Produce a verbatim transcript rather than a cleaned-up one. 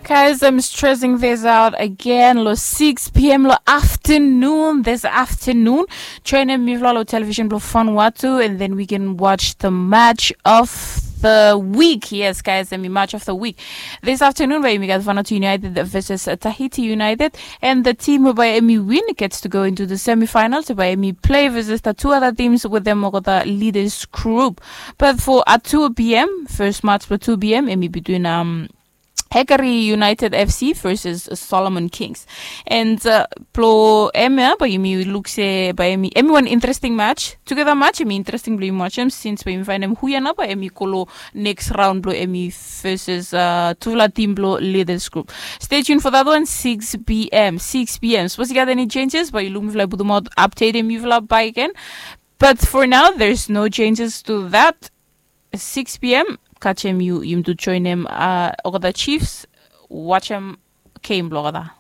Guys, I'm stressing this out again. Lo six p.m. lo afternoon, this afternoon. Join em mifla lo television blo Vanuatu, and then we can watch the match of the week. Yes, guys, em i match of the week. This afternoon, bae yumi gat Vanuatu United versus Tahiti United, and the team bae em i win gets to go into the semifinals. Bae em i play versus the two other teams with them, the leaders group. But for at two p.m., first match for two p.m., em i between um Hagari United F C versus Solomon Kings. And uh, blo em ya, bae yumi luk se bae em i wan interesting match. Together match, em i interesting blo yumi watch em since bae yumi faenem hu ya nao bae em i go lo next round blo em i versus uh, tufala team blo leaders group. Stay tuned for that one, six p.m. six p.m. Sapos i gat any changes, bae yumi luk mifala putum out update em mifala bae again. But for now, there's no changes to that. Six p.m. Kasem yumi tu join em uh, olgeta Chiefs. Watch em game blo olgeta.